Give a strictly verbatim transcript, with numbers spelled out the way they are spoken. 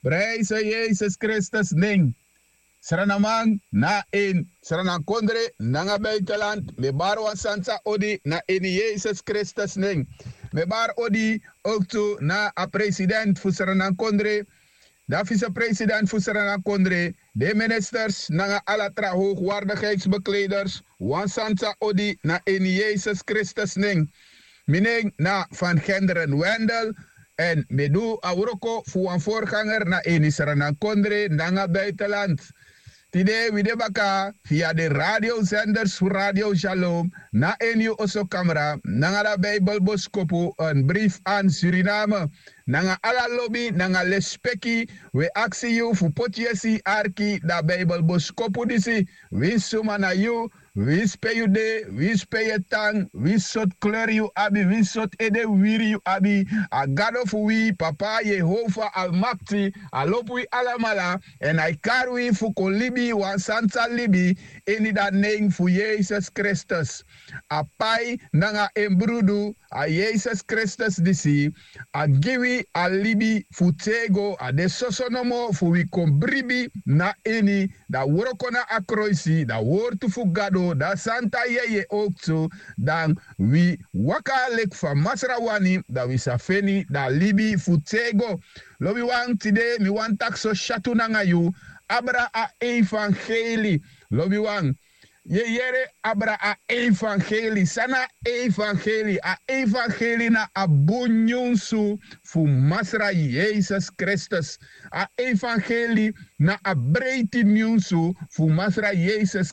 Prijse Yesus Kristus nen. Sranaman na ini sranankondre nanga buitenland, mi e bari wan santa odi na ini Yesus Kristus nen. Mi e bari odi ook tu na a president fu sranankondre, dan vicepresident fu sranankondre, den ministers nanga ala tra hoogwaardigheidsbekleders, wan santa odi na ini Yesus Kristus nen. Mi nen na Van Genderen Wendel, èn mi e du a wroko fu wan voorganger na ini sranankondre nanga buitenland. Tide wi de baka via den radiosenders fu Radio Shalom, na ini yu osokamra nanga da Bijbelboskopu, een brief aan Suriname. Nanga ala lobi nanga lespeki, wi e aksi yu fu poti yesi arki da Bijbelboskopu disi. Winsi suma na yu, winsi pe yu de, winsi pe yu e tan, winsi sortu kleri yu abi, winsi sortu ede wiwiri yu abi, a Gado fu wi, Papa Yehova Almakti, a lobi wi alamala, èn a e kari wi fu kon libi wan santa libi ini da nen fu Yesus Kristus. A pai nanga en brudu, a Yesus Kristus disi, a gi wi a libi fu tego, a de soso nomo fu wi kon bribi na ini, da wroko na a kroisi, da wortu fu Gado, da santa yeye ook tu, dan wi waka leki fa Masra wani, da wi sa feni da libi fu tego. Lobiwan, tide mi wani taki so syatu nanga yu, abra a evangeli. Lobiwan, yu e yere, abra a evangeli. San na a evangeli? A evangeli na a bun nyunsu fu Masra Yesus Kristus. A evangeli na a breiti nyunsu fu Masra Yesus